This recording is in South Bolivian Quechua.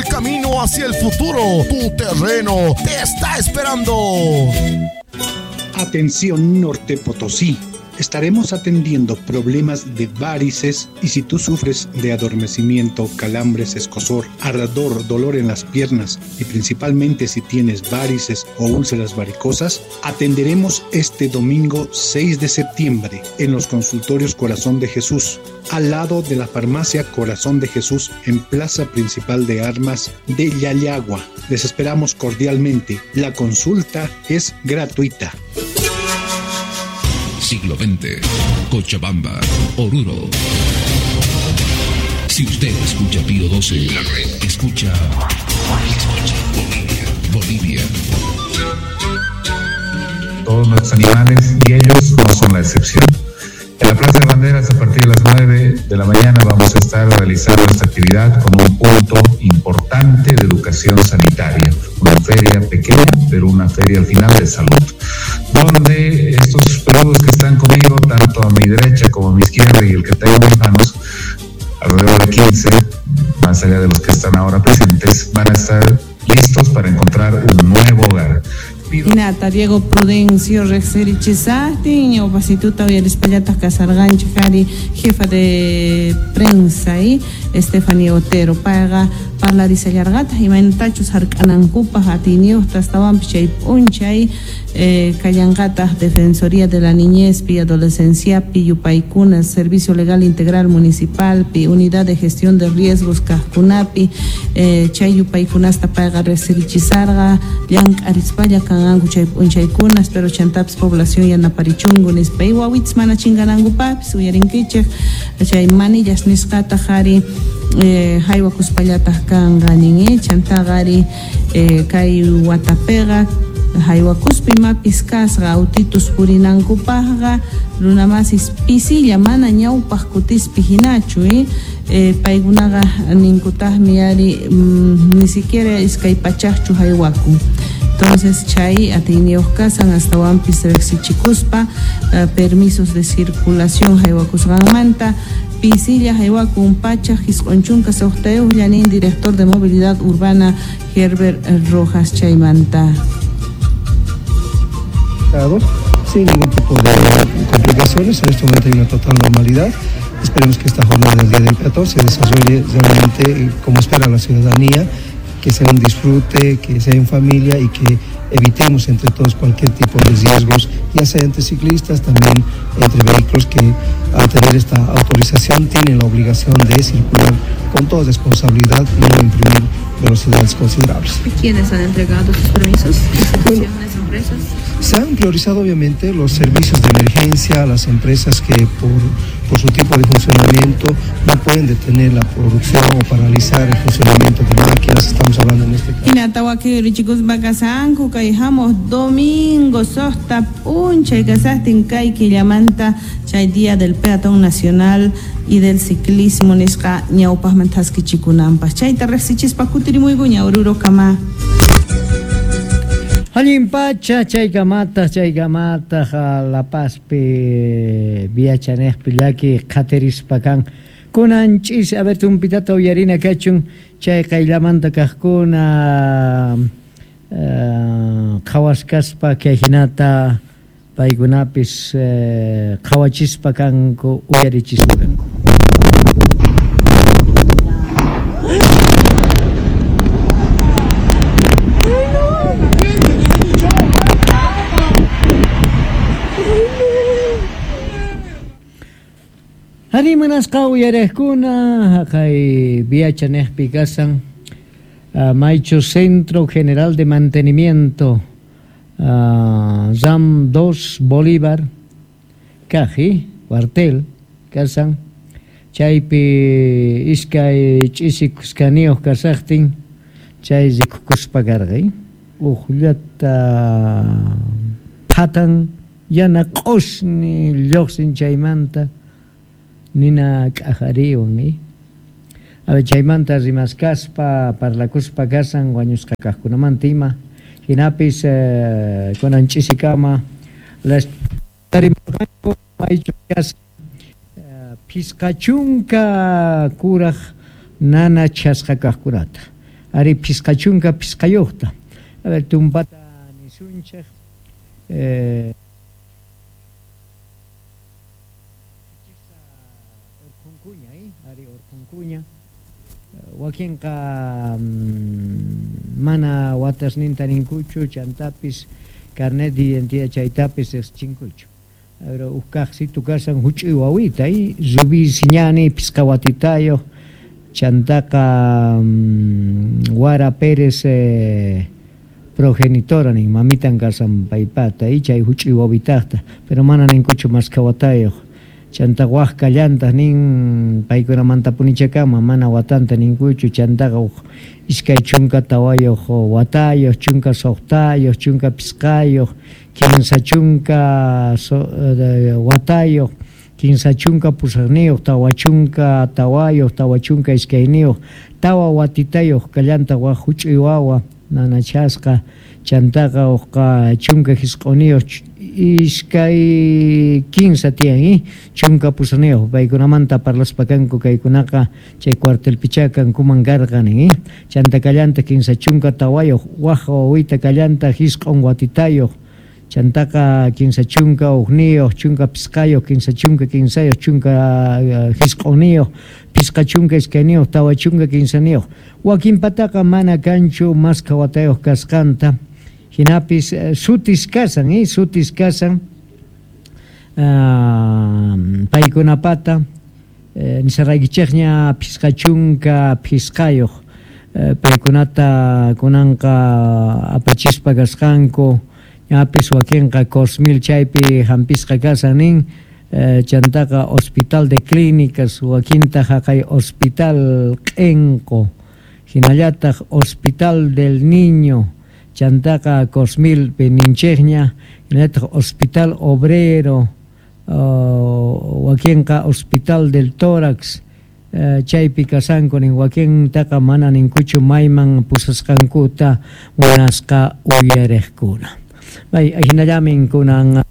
el camino hacia el futuro. Tu terreno te está esperando. Atención Norte Potosí. Estaremos atendiendo problemas de varices y si tú sufres de adormecimiento, calambres, escozor, ardor, dolor en las piernas y principalmente si tienes varices o úlceras varicosas, atenderemos este domingo 6 de septiembre en los consultorios Corazón de Jesús, al lado de la farmacia Corazón de Jesús en Plaza Principal de Armas de Llallagua. Les esperamos cordialmente. La consulta es gratuita. Siglo XX, Cochabamba, Oruro. Si usted escucha Pío 12, la red escucha. Escucha Bolivia, Bolivia. Todos nuestros animales y ellos no son la excepción. En la Plaza de Banderas, a partir de las 9 de la mañana, vamos a estar realizando esta actividad con un punto importante de educación sanitaria. Una feria pequeña, pero una feria al final de salud, donde estos peludos que están conmigo, tanto a mi derecha como a mi izquierda y el que tengo en mis manos, alrededor de 15, más allá de los que están ahora presentes, van a estar listos para encontrar un nuevo hogar. Hinata Diego Prudencio riqsirichishaqtin ñawpasituta uyarispallataq kasarqanchik ari jefa de prensa y Stephanie Otero payqa parlarisallarqataq imaynatachus hark'anankupaq atiyniyuqta astawanpis chay p'unchay kallanqataq Defensoría de la Niñezpi Adolescenciapi yupaykuna Servicio Legal Integral Municipalpi Unidad de Gestión de Riesgos kaqkunapi chay yupaykunasta payqa riqsirichisarqa llank'arispalla kanqanku chay p'unchaykunas pero chantapis población yanaparichunku nispa y wawitas mana chinkanankupaqpis uyarinkichik chay manillas nisqataq ari haywakuspallataq kanqa nin chantaqa ari kay watapiqa haywakuspa imapis kasqa autitus purinankupaqqa runamasis pisilla mana ñawpaq kutispi hinachu paykunaqa ninkutaqmi ari ni siquiera iskay pachaqchu haywakun. Entonces chay atiyniyuq kasan astawanpis riqsichikuspa permisos de circulación haywakusqanmanta pisilla haywakun pachaq isq'un chunka suqtayuqlla nin director de movilidad urbana Herbert Rojas chaymanta. Sin ningún tipo de complicaciones, en este momento hay una total normalidad. Esperemos que esta jornada del Día del Peatón se desarrolle realmente como espera la ciudadanía, que sea un disfrute, que sea en familia y que evitemos entre todos cualquier tipo de riesgos, ya sea entre ciclistas, también entre vehículos que al tener esta autorización tienen la obligación de circular con toda responsabilidad y no imprimir velocidades considerables. ¿Y quiénes han entregado sus permisos? ¿Instituciones, empresas? Se han priorizado obviamente los servicios de emergencia, las empresas que por su tipo de funcionamiento no pueden detener la producción o paralizar el funcionamiento de máquinas, estamos hablando en este caso. Hinata wakiy richikuspa kasanku kay hamuq domingo suqta p'unchay kasaqtin kay killamanta chay Día del Peatón Nacional y del Ciclismo nisqa ñawpaqman thaskichikunanpaq. Chayta riqsichispa kutirimuykuña Oruro kama. Allin pacha chaykamataq chaykamataq La Pazpi viachanejpi llaki qhatirispa kan kunan ch'isi a ver tumpitata uyarina kachun chay qayllamanta kaqkuna qhawaskaspa kay hinata paykunapis qhawachispa kanku uyarichispa kanku. Ari munasqa uyariqkuna haqay viachanejpi kasan Maychu Centro General de Mantenimiento RAM 2 Bolívar Kaji cuartel kasan chaypi iskay ch'isi kuskaniyuq kasaqtin chay rikukuspa karqay uqllata phatan yana q'usni lluqsin chaymanta nina k'ajariwan a ver chaymanta rimaskaspa parlakuspa kasan wañusqa kaqkunamanta ima hinapis kunan ch'isikama las tarimurqanku maychu kasan phisqa chunka kuraq nana chasqa kaqkunata Ari 55yojta. A ver, tumpata nisunchej. Orqhunkuña, ari orqhunkuña. Wakinqa mana watasninta ninkuchu, chantapis carnet de identidad chaytapis riqsichinkuchu. Pero uj kaqsitu kasan huch'uy wawita, Rubí Siñani, 5 watitayuq, chantaqa Wara Pérez progenitora nin, mamitan kasan paypata, chay huch'uy wawitaqta, pero mana ninkuchu maskha watayuq. Chanta waj kallantaq nin paykunamanta punichakama mana watanta ninkuchu, chantaqa uj 24 watayuq, 16yuq, 15yuq, 30 watayuq, 38, 44, 42, 4 watitayuq kallantaq waj huch'uy wawa nanachasqa, chantaqa uqqa 19 iskay 15 tiyan, 18 paykunamanta parlaspa kanku kaykunaqa chay cuartelpichá kankuman karqa nin, chanta kallantaq 34 waj wawita kallantaq 9 watitayuq, chantaqa 31, 15, 33, 19, 52, 43. Wakinpataqa mana kanchu maskha watayuq kasqanta, hinapis sutis kasan, sutis kasan paykunapata nisaraykichikña 55 paykunata kunanqa apachispa kasqanku, ñapis wakinqa Cosmil chaypi hampisqa kasan nin, chantaqa Hospital de Clínicas, wakinta haqay Hospital Q'enqo, hinallataq Hospital del Niño, chantaqa Cosmil ninchikña, hinallataq Hospital Obrero, wakinqa Hospital del Tórax, chaypi kasanku nin, wakintaqa mana ninkuchu mayman pusasqankuta munasqa uyariqkuna. Bay, hinallamin kunan